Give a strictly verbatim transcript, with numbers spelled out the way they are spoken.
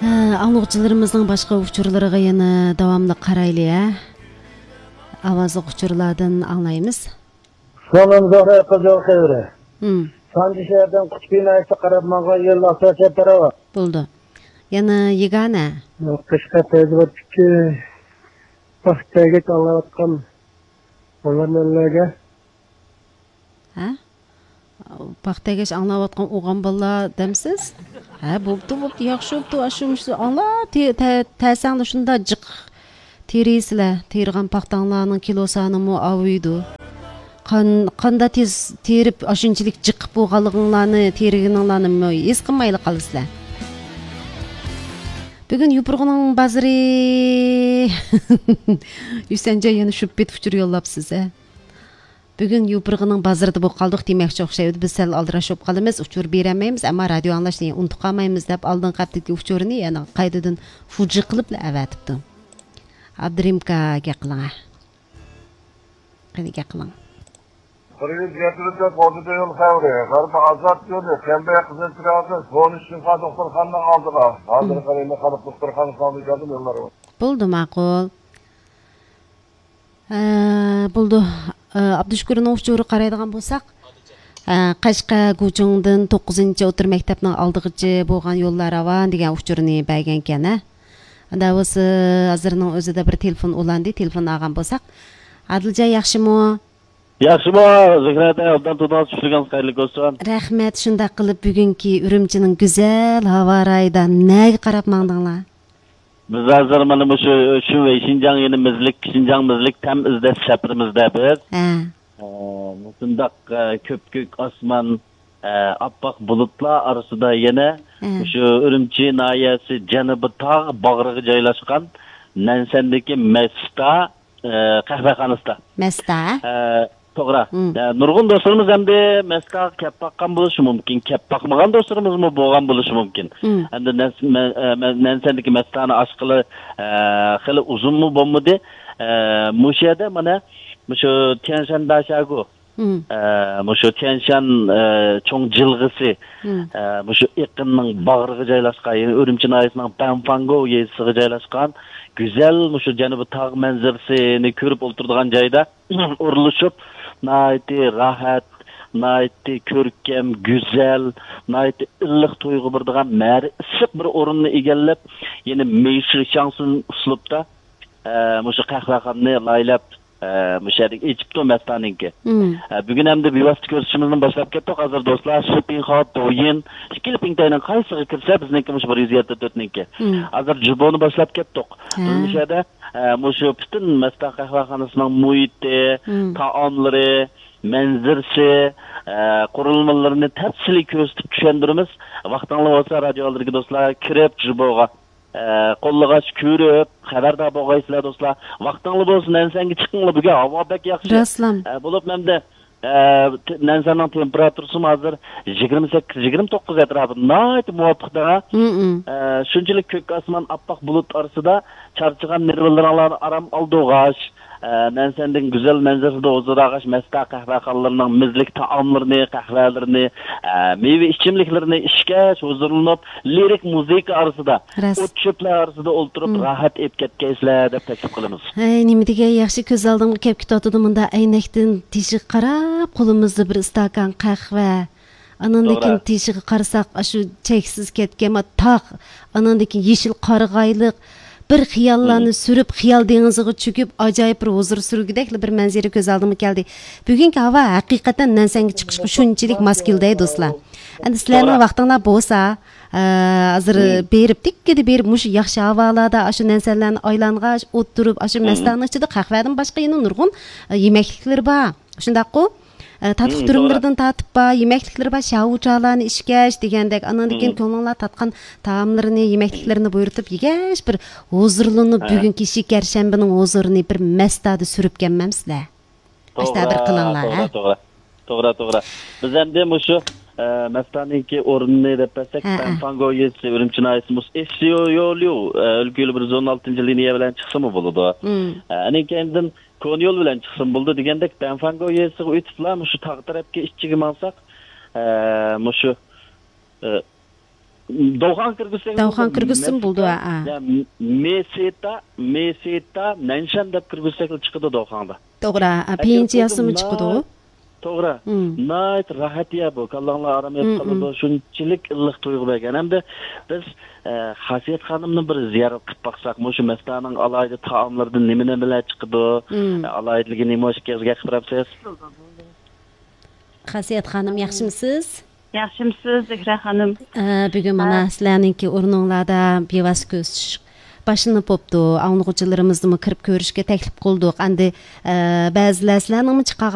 ئاڭلىغۇچىلىرىمىزنىڭ باشقا ئۇچۇرلىرىغا يەنە داۋاملىق قارايلى، ھە. ئاۋازلىق ئۇچۇرلاردىن ئاڭلايمىز. سالام زەھرا قىزىل خەۋىرى. ھىم. سانجى شەھەردىن قۇتۇپ ئىنايەتكە قاراپ ماڭغان يول ئاساسىي تاراۋا. بولدى. يەنە يېگانە. قەشقەر پەيزىۋات ئىككى. پاختەگەچ ئاڭلاۋاتقان ئوغلان بالىلارغا. ھە؟ پاختەگەچ ئاڭلاۋاتقان ئوغان بالىلار دەمسىز؟ ھە، بوپتۇ، بوپتۇ، ياخشى بوپتۇ، ئاشۇ مۇشۇ ئاڭلا، تە-، تە-، تەسەڭلار شۇنداق جىق تېرىيسىلەر، تېرىغان پاختاڭلارنىڭ كىلو سانىمۇ ئاۋۇيدۇ. قان-، قاندا تېز تېرىپ، ئاشۇنچىلىك جىق بولغانلىقىڭلارنى، تېرىگىنىڭلارنى ھېس قىلمايلا قالىسىلەر. بۈگۈن يوپۇرغىنىڭ بازىرى. ھۈسەنجان يەنە شۇ پېت ئۇچۇر يوللاپسىز، ھە؟ بۈگۈن يوپۇرغىنىڭ بازىرىدا بولۇپ قالدۇق دېمەكچى ئوخشايدۇ. بىز سەل ئالدىراش بولۇپ قالىمىز، ئۇچۇر بېرەلمەيمىز، ئەمما رادىيو ئاڭلاشنى ئۇنتۇپ قالمايمىز دەپ ئالدىنقى ھەپتىدىكى ئۇچۇرنى يەنە قايتىدىن فۇجى قىلىپلا ئەۋەتىپتۇ. ئابدۇرېھىمكا گەپ قىلىڭ، ھە. قېنى گەپ قىلىڭ. بىر يۈز يەتتە تۆت ئوتتۇز يول خەۋىرى. غەربىي ئازاد يولى، كەمبەي قىزىل تېرراسا، سون ئۈچ شىنخۇا دوختۇرخانىنىڭ ئالدىغا. ھازىر قېنى خەلق دوختۇرخانىسىنىڭ ئالدىغا كەلدىم يوللارغا. بولدى، ماقۇل. ھە، بولدى. ئابدۇشۈكۈرنىڭ ئۇچۇرىغا قارايدىغان بولساق، ھە، قەشقەر گۇچۇڭدىن توققۇزىنچى ئوتتۇرا مەكتەپنىڭ ئالدىغىچە بولغان يوللار راۋان دېگەن ئۇچۇرنى بەرگەنكەن، ھە. ئەندى بولسا ھازىرنىڭ ئۆزىدە بىر تېلېفون ئۇلاندى، تېلېفون ئالغان بولساق. ئادىلجان ياخشىمۇ؟ ياخشىمۇ؟ زۆھرەتە ئوبدان تۇردىڭىز، چۈشلۈكىڭىز خەيرلىك بولسۇن. رەھمەت، شۇنداق قىلىپ بۈگۈنكى ئۈرۈمچىنىڭ گۈزەل ھاۋا رايىدا نەگە قاراپ ماڭدىڭلار؟ بىز ھازىر مانا مۇشۇ شۇنۋېي شىنجاڭ يېنى مىزلىك، شىنجاڭ مىزلىك تەم ئىزدەش سەپىرىمىزدە بىز. ھە. ئە، مۇشۇنداق، ئە، كۆپكۆك ئاسمان، ئە، ئاپئاق بۇلۇتلار ئارىسىدا يەنە ھە. مۇشۇ ئۈرۈمچى ناھىيەسى جەنۇبىي تاغ باغرىغا جايلاشقان نەنسەندىكى مەستا، ئە، قەھۋەخانىسىدا. مەستا؟ ئە، توغرا. ھىم. ئە، نۇرغۇن دوستلىرىمىز ئەمدى مەستاغا كەپ باققان بولۇشى مۇمكىن، كەپ باقمىغان دوستلىرىمىزمۇ بولغان بولۇشى مۇمكىن. ھىم. ئەمدى نەس-، مە-، ئە، مە-، نەنسەندىكى مەستانى ئاچقىلى، ئە، خېلى ئۇزۇنمۇ بولمىدى. ئە، مۇشۇ يەردە مانا مۇشۇ تيەنشان داشاگۇ، ھىم. ئە، مۇشۇ تيەنشان، ئە، چوڭ جىلغىسى، ھىم. ئە، مۇشۇ ئېقىننىڭ باغرىغا جايلاشقان، يەنى ئۈرۈمچى ناھىيەسىنىڭ بەنفاڭگو يېزىسىغا جايلاشقان گۈزەل مۇشۇ جەنۇبىي تاغ مەنزىرىسىنى كۆرۈپ ئولتۇرىدىغان جايدا ئورۇنلىشىپ، ناھايىتى راھەت، ناھايىتى كۆركەم، گۈزەل، ناھايىتى ئىللىق تۇيغۇ بېرىدىغان مەرى ئىسسىق بىر ئورۇننى ئىگىلەپ، يەنى مېيشى شاڭسۇن ئۇسلۇبتا، ئە، مۇشۇ قەھۋەخانىنى لايىھەلەپ، ئە، مۇشۇ يەردىكى ئېچىپتۇ مەستانىڭكى. مم. ئە، بۈگۈن ئەمدى بىۋاسىتە كۆرسىتىشىمىزنى باشلاپ كەتتۇق. ھازىر دوستلار، شىپىنخاۋ، دويىن، ئىككىلا پىڭتەينىڭ قايسىغا كىرسە، بىزنىڭكى مۇشۇ بىر يۈز يەتتە تۆتنىڭكى. مم. ھازىر جۇبونى باشلاپ كەتتۇق. ھە. بىز مۇشۇ يەردە، ئە، مۇشۇ پۈتۈن مەستان قەھۋەخانىسىنىڭ مۇھىتى، مم. تائاملىرى، مەنزىرىسى، ئە، قۇرۇلمىلىرىنى تەپسىلىي كۆرسىتىپ چۈشەندۈرىمىز. ۋاقتىڭلار بولسا، رادىيو ئالدىدىكى دوستلار كىرىپ، جۇبوغا، ئە، قوللىغاچ كۆرۈپ، خەۋەردار بولغايسىلەر، دوستلار. ۋاقتىڭلار بولسا، نەنسەنگە چىقىڭلار، بۈگۈن ھاۋا بەك ياخشى. راسلام. ئە، بولۇپمۇ ئەمدى، ئە، ت-، نەنسەننىڭ تېمپېراتۇرىسىمۇ ھازىر يىگىرمە سەككىز، يىگىرمە توققۇز ئەتراپىدا، ناھايىتى مۇۋاپىق دەڭا. مم. ئە، شۇنچىلىك كۆك ئاسمان، ئاپئاق بۇلۇت ئارىسىدا چارچىغان نېرۋىلىرىڭلارنى ئارام ئالدۇرغاچ، ئە، نەنسەندىن گۈزەل مەنزىرىسىدە ھۇزۇر ئالغاچ، مەستا قەھۋەخانىلىرىنىڭ مىزلىك تائاملىرىنى، قەھۋەلىرىنى، ئە، مېۋە ئىچىملىكلىرىنى ئىچكەچ، ھۇزۇرلىنىپ، لىرىك مۇزىكا ئارىسىدا، راست. ئوت چۆپلەر ئارىسىدا ئولتۇرۇپ، مم. راھەت ئېلىپ كەتكەيسىلەر دەپ تەكلىپ قىلىمىز. ھەي، نېمە دېگەن ياخشى، كۆز ئالدىمغا كەپ كېتىۋاتىدۇ مۇندا ئەينەكتىن تېشىغا قاراپ، قولىمىزدا بىر ئىستاكان قەھۋە. ئاناندىن توغرا. كېيىن تېشىغا قارىساق، ئاشۇ چەكسىز كەتكەن ما تاغ، ئاناندىن كېيىن يېشىل قارىغايلىق، بىر خىياللارنى مم. سۈرۈپ، خىيال دېڭىزىغا چۆكۈپ، ئاجايىپ بىر ھۇزۇر سۈرگۈدەكلا بىر مەنزىرە كۆز ئالدىمغا كەلدى. بۈگۈنكى ھاۋا ھەقىقەتەن نەنسەنگە چىقىشقا شۇنچىلىك ماس كېلىدۇ، دوستلار. ئەمدى سىلەرنىڭ توغرا. ۋاقتىڭلار بولسا، ئە، ھازىر مم. بېرىپ، دىككىدە بېرىپ، مۇشۇ ياخشى ھاۋالاردا، ئاشۇ نەنسەنلەرنى ئايلانغاچ، ئولتۇرۇپ، ئاشۇ مم. مەستانىنىڭ ئىچىدە قەھۋەدىن باشقا يەنە نۇرغۇن، ئە، يېمەكلىكلىرى بار. شۇنداققۇ؟ ئە، تاتلىق مم، توغرا. تۈرۈملىرىدىن تارتىپ بار، يېمەكلىكلىرى بار، شاۋۇچالارنى ئىچكەچ دېگەندەك، ئانىڭدىن كېيىن مم. كۆڭلۈڭلار تارتقان تائاملىرىنى، يېمەكلىكلىرىنى بۇيرۇتۇپ يېگەچ، بىر ھۇزۇرلىنىپ، ھە. بۈگۈنكى شېكەرشەنبىنىڭ ھۇزۇرىنى بىر مەستادا سۈرۈپ كەلمەمسىلەر؟ ئاشۇنداق بىر توغرا، قىلىڭلار، توغرا، ھە؟ توغرا. توغرا، توغرا. بىز ئەمدى مۇشۇ، ئە، مەستانىڭكى ئورنىنى دەپ بەرسەك، ھە، ھە. بەنفاڭگو يېزىسى، ئۈرۈمچى ناھىيەسى، مۇشۇ ئېسسىيو يوليۇ، ئە، ئۆلكە يولى بىر يۈز ئون ئالتىنچى لىنىيە بىلەن چىقسىمۇ بولىدۇ. مم. ئە، ئەنىڭ كەينىدىن كونا يول بىلەن چىقسىمۇ بولىدۇ دېگەندەك، بەنفاڭگو يېزىسىغا ئۆتۈپلا مۇشۇ تاغ تەرەپكە ئىچىگە ماڭساق، ئە، مۇشۇ، ئە، دوخاڭ كىرگۈزسەك، دوخاڭ كىرگۈزسىمۇ بولىدۇ، ھە. مېسېتا، مېسېتا نەنشەن دەپ كىرگۈزسەكلا چىقىدۇ دوخاڭدا. توغرا، ھە، پىيىنچى يازسىمۇ چىقىدۇ. توغرا. ناھايىتى راھەت يا بۇ. كاللاڭلار ئارام ئېلىپ قالىدۇ. شۇنچىلىك ئىللىق تۇيغۇ بەرگەن. ھەمدە بىز، ئە، خاسىيەت خانىمنى بىر زىيارەت قىلىپ باقساق، مۇشۇ مەستانىڭ ئالاھىدە تائاملىرىدىن نېمە نېمىلەر چىقىدۇ؟ ئە، ئالاھىدىلىكى نېمە ئىكەنلىكىگە گەپ قىلىپ بېرەمسىز؟ خاسىيەت خانىم، ياخشىمۇ سىز؟ ياخشىمۇ سىز، زۆھرە خانىم؟ ئە، بۈگۈن مانا سىلەرنىڭكى ئورنۇڭلاردا بىۋاسىتە كۆرۈشۈش باشلىنىپ بوپتۇ. ئاڭلىغۇچىلىرىمىزنىمۇ كىرىپ كۆرۈشكە تەكلىپ قىلدۇق. ئەمدى، ئە، بەزىلەر سىلەرنىڭمۇ چىقارغان